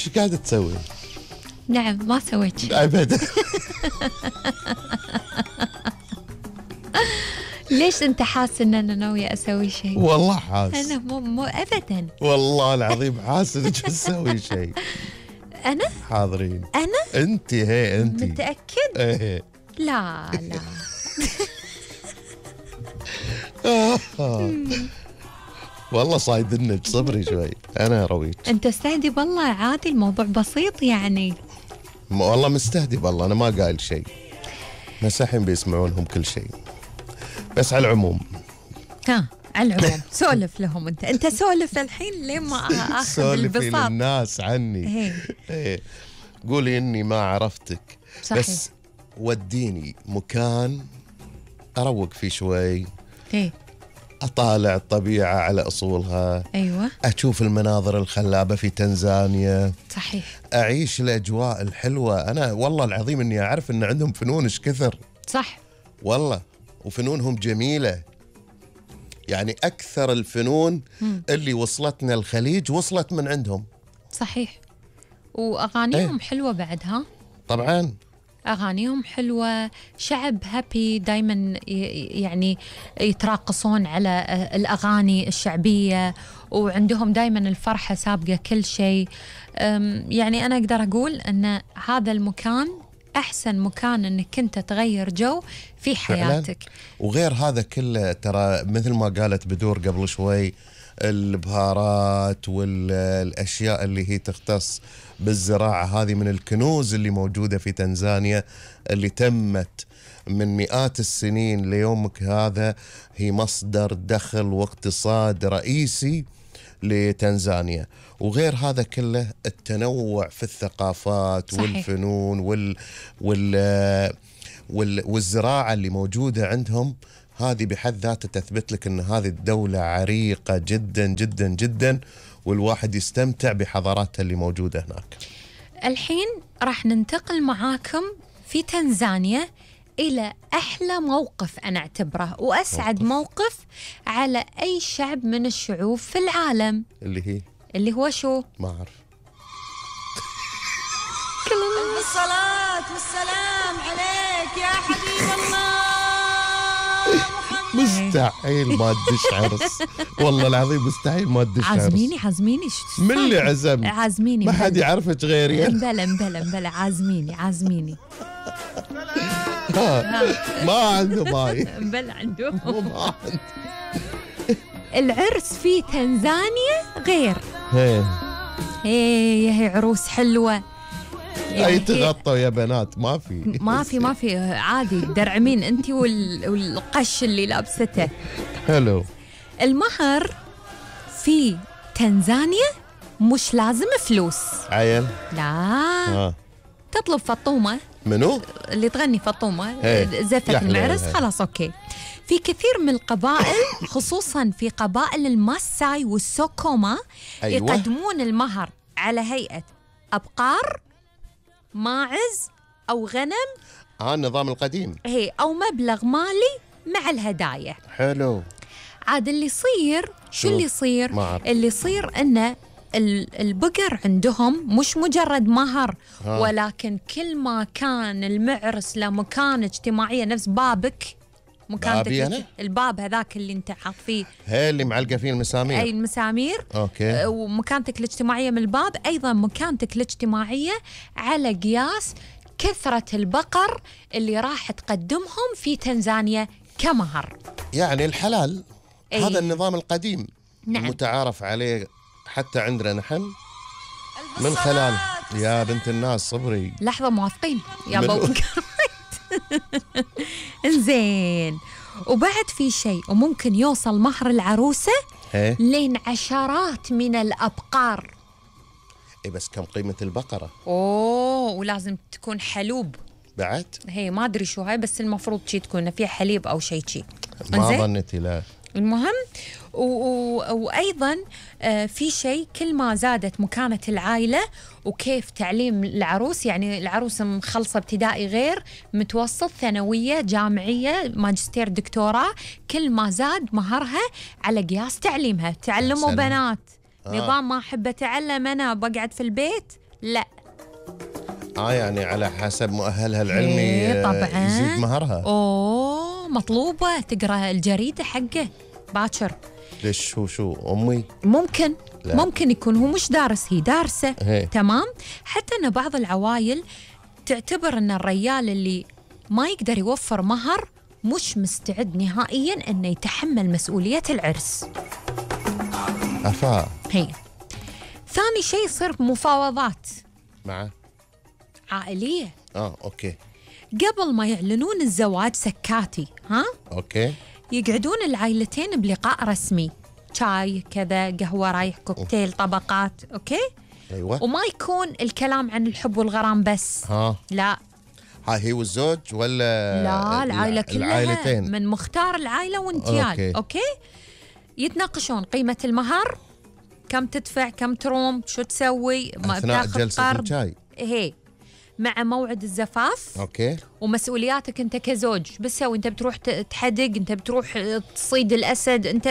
إيش قاعدة تسوي؟ نعم ما سويت شيء أبدا. ليش أنت حاس إن أنا ناوية أسوي شيء؟ والله حاس. أنا مو أبدا. والله العظيم حاس إنك تسوي شيء. أنا؟ حاضرين. أنا؟ أنت هي أنت. متأكد؟ إيه. لا. والله صايدنك، صبري شوي أنا رويت. أنت استهدي والله، عادي الموضوع بسيط يعني. والله مستهدي والله، أنا ما قايل شيء، بس الحين بيسمعونهم كل شيء. بس على العموم على العموم سولف لهم. أنت سولف الحين لين ما آخذ سولفي البساط للناس عني. إيه. قولي إني ما عرفتك. صحيح. بس وديني مكان أروق فيه شوي. إيه. أطالع الطبيعة على أصولها. أيوة. أشوف المناظر الخلابة في تنزانيا. صحيح. أعيش الأجواء الحلوة. أنا والله العظيم إني أعرف إن عندهم فنون إيش كثر. صح والله، وفنونهم جميلة. يعني أكثر الفنون اللي وصلتنا الخليج وصلت من عندهم. صحيح. وأغانيهم حلوة بعدها. طبعاً أغانيهم حلوة، شعب هابي دايما، يعني يتراقصون على الأغاني الشعبية، وعندهم دايما الفرحة سابقة كل شيء. يعني أنا أقدر أقول أن هذا المكان أحسن مكان أنك أنت تغير جو في حياتك فعلاً. وغير هذا كله ترى مثل ما قالت بدور قبل شوي، البهارات والأشياء اللي هي تختص بالزراعة هذه من الكنوز اللي موجودة في تنزانيا، اللي تمت من مئات السنين ليومك هذا، هي مصدر دخل واقتصاد رئيسي لتنزانيا. وغير هذا كله التنوع في الثقافات. صحيح. والفنون والزراعة اللي موجودة عندهم، هذه بحد ذاتها تثبت لك أن هذه الدولة عريقة جدا جدا جدا، والواحد يستمتع بحضاراتها اللي موجودة هناك. الحين راح ننتقل معاكم في تنزانيا إلى أحلى موقف أنا أعتبره وأسعد موقف على أي شعب من الشعوب في العالم. اللي هو شو؟ ما أعرف. الصلاة والسلام عليك يا حبيب الله محمد. مستحيل ما تدش عرس، والله العظيم مستحيل ما تدش عرس. عازميني من اللي عزم؟ عازميني، ما حد يعرفك غيري. بلا عازميني. ما عنده ماي. بلا عنده. العرس في تنزانيا غير. هي عروس حلوة. أي تغطوا يا بنات؟ ما في عادي، درعمين أنتي والقش اللي لابسته. حلو. المهر في تنزانيا مش لازم فلوس. عيل؟ لا. تطلب فطومة. منو؟ اللي تغني فطومة زفة المعرس، خلاص أوكي. في كثير من القبائل خصوصا في قبائل الماساي والسوكوما، أيوة. يقدمون المهر على هيئة أبقار، ماعز أو غنم. النظام القديم. أو مبلغ مالي مع الهدايا. حلو. عاد اللي يصير شو اللي يصير؟ اللي يصير إنه البقر عندهم مش مجرد مهر، ولكن كل ما كان المعرس له مكان اجتماعية نفس بابك، مكانتك الباب هذاك اللي انت حاط فيه، اللي معلقة فيه المسامير. أي المسامير. أوكي. ومكانتك الاجتماعية من الباب، أيضا مكانتك الاجتماعية على قياس كثرة البقر اللي راح تقدمهم في تنزانيا كمهر. يعني الحلال. هذا النظام القديم. نعم. المتعارف عليه حتى عندنا نحن من خلال. يا بنت الناس صبري لحظة، موافقين يا بابا. إنزين. وبعد في شيء، وممكن يوصل مهر العروسة لين عشرات من الأبقار. بس كم قيمة البقرة؟ ولازم تكون حلوب بعد. ما أدري شو هاي، بس المفروض شي تكون فيها حليب أو شيء. ما ظنتي. لا. المهم وأيضا في شيء، كل ما زادت مكانة العائلة وكيف تعليم العروس، يعني العروس مخلصة ابتدائي غير متوسط، ثانوية، جامعية، ماجستير، دكتوراه، كل ما زاد مهرها على قياس تعليمها. تعلموا بنات. نظام ما أحب أتعلم أنا بقعد في البيت، لا. يعني على حسب مؤهلها العلمي إيه طبعاً. يزيد مهرها. اوه مطلوبة تقرأ الجريدة حقه باكر. ليش شو أمي؟ ممكن لا. ممكن يكون هو مش دارس، هي دارسة. هي. تمام. حتى أن بعض العوائل تعتبر أن الرجال اللي ما يقدر يوفر مهر مش مستعد نهائياً أنه يتحمل مسؤولية العرس. أفا. هي. ثاني شيء يصير مفاوضات مع عائلية. أوكي. قبل ما يعلنون الزواج سكاتي، ها؟ أوكي. يقعدون العائلتين بلقاء رسمي، شاي كذا، قهوة رايح، كوكتيل، طبقات، أوكي؟ أيوة. وما يكون الكلام عن الحب والغرام بس. لا. هي والزوج ولا لا، العائلة كلها، العائلتين من مختار العائلة وانتيال. أوكي. يتناقشون قيمة المهر، كم تدفع، كم تروم، شو تسوي، ما أثناء تاخذ جلسة قرض. الشاي. هي مع موعد الزفاف. أوكي. ومسؤولياتك أنت كزوج، بتسوي أنت بتروح تحدق، أنت بتروح تصيد الأسد، أنت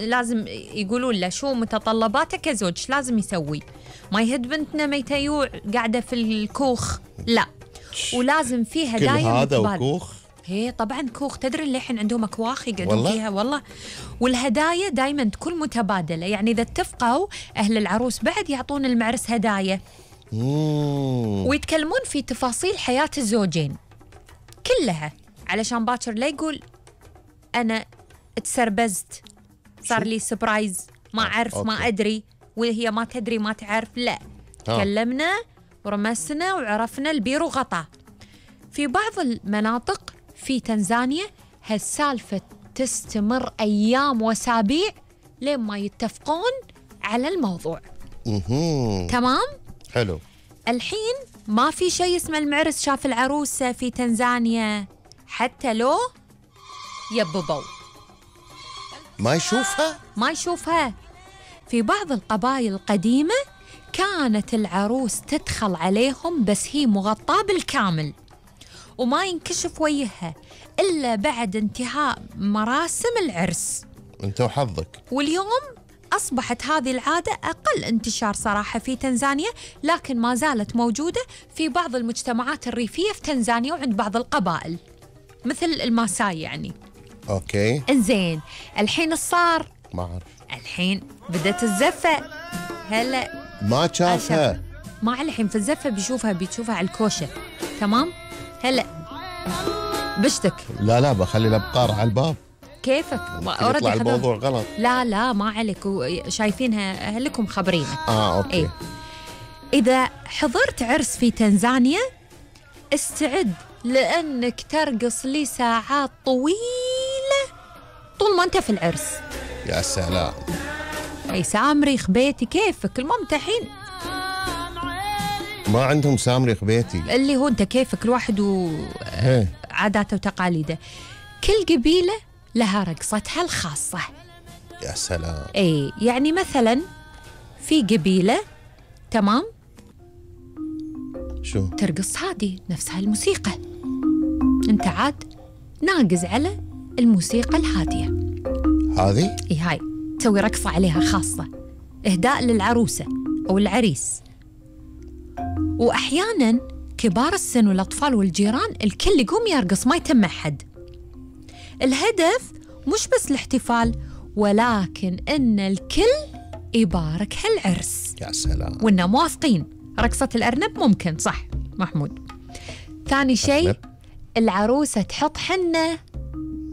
لازم يقولون له شو متطلباتك كزوج، لازم يسوي. ما يهد بنتنا ميتيوع قاعدة في الكوخ، لا. ولازم فيها كل هدايا هذا متبادلة. وكوخ. هي طبعا كوخ، تدري اللي الحين عندهم أكواخ يقعدون والله؟ فيها والله. والهدايا دائما تكون متبادلة، يعني إذا اتفقوا أهل العروس بعد يعطون المعرس هدايا. ويتكلمون في تفاصيل حياة الزوجين كلها، علشان باكر لا يقول أنا تسربزت، صار لي سبرايز، ما أعرف، ما أدري، وهي ما تدري ما تعرف. لا. تكلمنا ورمسنا وعرفنا البير وغطا. في بعض المناطق في تنزانيا هالسالفة تستمر أيام وأسابيع لين ما يتفقون على الموضوع. تمام؟ حلو. الحين ما في شيء اسمه المعرس شاف العروسة في تنزانيا، حتى لو يببوا ما يشوفها. في بعض القبائل القديمة كانت العروس تدخل عليهم بس هي مغطاة بالكامل، وما ينكشف وجهها إلا بعد انتهاء مراسم العرس. أنت وحظك. واليوم أصبحت هذه العادة أقل انتشار صراحة في تنزانيا، لكن ما زالت موجودة في بعض المجتمعات الريفية في تنزانيا وعند بعض القبائل مثل الماساي يعني. أوكي. إنزين، الحين صار ما أعرف. الحين بدت الزفة. هلا ما شافها. ما الحين في الزفة بيشوفها على الكوشة. تمام. هلا بشتك. لا بخلي الأبقار على الباب. كيفك؟ يطلع الموضوع غلط. لا ما عليك، شايفينها أهلكم خبرينك. أوكي. إيه؟ إذا حضرت عرس في تنزانيا استعد لأنك ترقص لي ساعات طويلة طول ما أنت في العرس. يا سلام. أي سامريخ بيتي كيفك؟ الممتحين ما عندهم سامريخ بيتي، اللي هو أنت كيفك، الواحد وعاداته وتقاليده. كل قبيلة لها رقصتها الخاصة. يا سلام. اي يعني مثلا في قبيلة تمام شو ترقص هادي نفسها الموسيقى، انت عاد ناقز على الموسيقى الهادية هذه. اي هاي تسوي رقصة عليها خاصة إهداء للعروسة أو العريس. وأحيانا كبار السن والأطفال والجيران الكل يقوم يرقص، ما يتم أحد. الهدف مش بس الاحتفال، ولكن إن الكل يبارك هالعرس. يا سلام. وإننا موافقين. رقصة الأرنب ممكن صح محمود. ثاني شيء العروسة تحط حنة.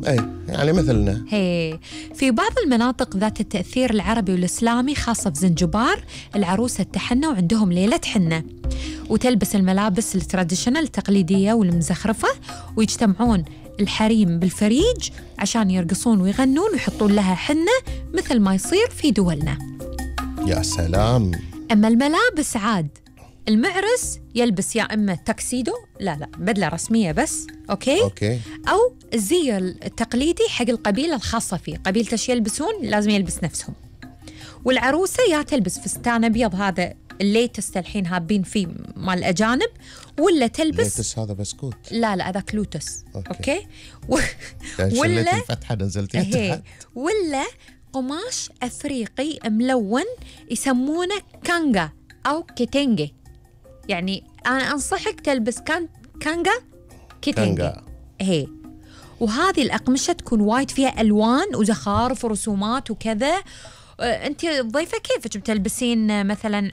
اي يعني مثلنا. هي في بعض المناطق ذات التأثير العربي والإسلامي خاصة في زنجبار العروسة تحنى وعندهم ليلة حنة، وتلبس الملابس التراديشنال التقليدية والمزخرفة، ويجتمعون الحريم بالفريج عشان يرقصون ويغنون ويحطون لها حنة مثل ما يصير في دولنا. يا سلام. أما الملابس عاد المعرس يلبس يا إما تاكسيدو، لا بدلة رسمية بس، أوكي؟ أو الزي التقليدي حق القبيلة الخاصة فيه، قبيلته ايش يلبسون لازم يلبس نفسهم. والعروسة يا تلبس فستان أبيض هذا الليتست الحين هابين فيه مال الأجانب، ولا تلبس ليتس هذا بسكوت. لا هذاك لوتس. أوكي؟ ولا الفتحة نزلتها تحت. ولا قماش أفريقي ملون يسمونه كانجا أو كيتنجي. يعني أنا أنصحك تلبس كانجا كيتنجي. كانجا. هي وهذه الأقمشة تكون وايد فيها ألوان وزخارف ورسومات وكذا. أنت الضيفة كيفك بتلبسين مثلا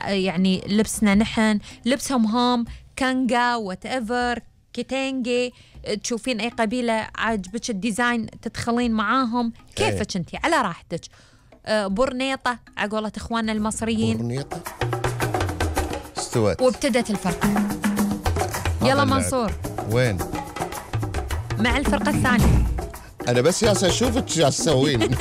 يعني لبسنا نحن لبسهم هم كانجا وات ايفر كيتنجي، تشوفين أي قبيلة عاجبك الديزاين تدخلين معاهم كيفك أنت على راحتك. برنيطة على قولة إخواننا المصريين. برنيطة استوت وابتدت الفرقة. يلا منصور وين؟ مع الفرقة الثانية. أنا بس ياسا أشوفك شو تسوين.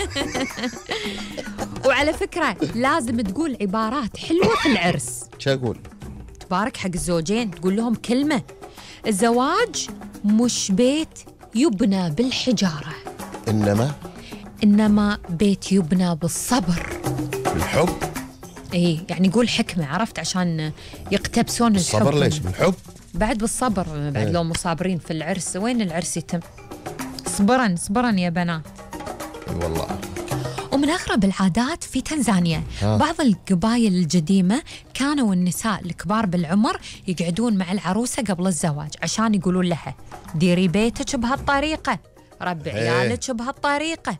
وعلى فكرة لازم تقول عبارات حلوة في العرس. شو أقول؟ تبارك حق الزوجين، تقول لهم كلمة: الزواج مش بيت يبنى بالحجارة، إنما بيت يبنى بالصبر. بالحب؟ إيه يعني قول حكمة، عرفت، عشان يقتبسون الحب. الصبر ليش؟ بالحب؟ بعد بالصبر، بعد لو مصابرين في العرس وين العرس يتم؟ صبرا يا بنات. اي والله. ومن أغرب العادات في تنزانيا بعض القبائل القديمة كانوا النساء الكبار بالعمر يقعدون مع العروسة قبل الزواج عشان يقولون لها: ديري بيتك بهالطريقة، ربي عيالك بهالطريقة،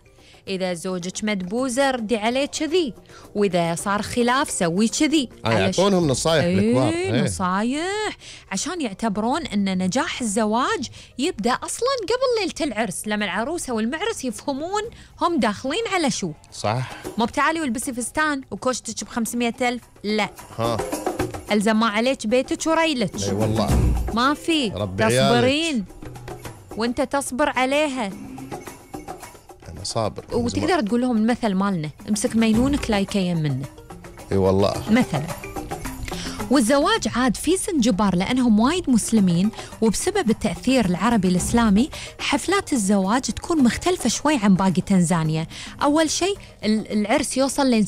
إذا زوجك مدبوزة ردي عليه كذي، وإذا صار خلاف سوي كذي. يعطونهم نصايح الكبار. نصايح عشان يعتبرون أن نجاح الزواج يبدأ أصلا قبل ليلة العرس، لما العروسة والمعرس يفهمون هم داخلين على شو. صح. مو بتعالي والبسي فستان وكوشتك ب500,000، لا. ألزم ما عليك بيتك وريلك. اي والله. ما في. تصبرين وانت تصبر عليها. أنا صابر. وتقدر تقول لهم المثل مالنا: امسك مينونك لا يكيم منه. اي والله. مثلا. والزواج عاد في زنجبار لأنهم وايد مسلمين، وبسبب التأثير العربي الإسلامي حفلات الزواج تكون مختلفة شوي عن باقي تنزانيا. أول شيء العرس يوصل لين